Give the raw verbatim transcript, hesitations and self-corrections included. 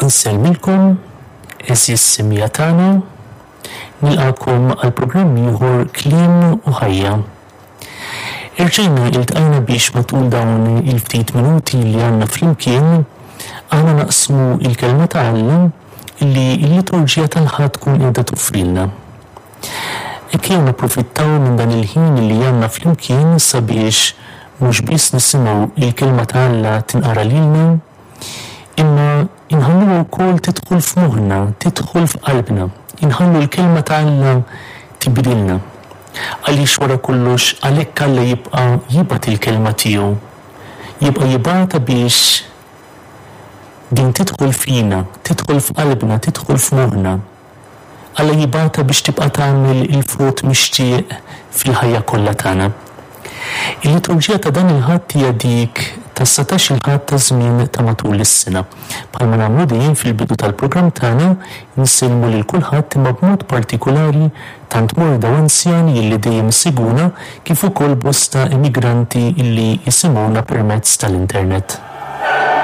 Insellmilkom, għeżież semmiegħa tagħna, nilqagħkom għal programm ieħor Kliem u Ħajja. Irġajna iltqajna biex matul dawn il-ftit minuti li għandna flimkien aħna naqsmu il-kelma ta' Alla li l-liturġija tal-Ħadd tkun qiegħda toffrilna. Hekk jew napprofittaw minn dan il-ħin li għandna flimkien sabiex mhux biss nisimgħu il-kelma ta' Alla tinqara lilna, imma inħalluha wkoll tidħol f'moħħna, tidħol f'qalbna, inħallu l-kelma ta' Alla tibdilna. Għaliex wara kollox għalhekk Alla jibqa' jibgħat il-kelma tiegħu. Jibqa' jibgħatha biex din tidħol fina, tidħol f'qalbna, tidħol f'moħħna. Alla jibgħatha biex tibqa' tagħmel il-frott mixtieq fil-ħajja kollha tagħna. Il-liturġija ta' dan il-Ħadd hija dik tas-satax il-Ħadd ta' żmien ta' matul is-sena. Bħalma nagħmlu dejjem fil-bidu tal-programm tagħna, insellmu lil kulħadd imma b'mod partikolari tant morda u anzjani illi dejjem isegwuna kif ukoll bosta emigranti illi jisimgħuna permezz tal-internet.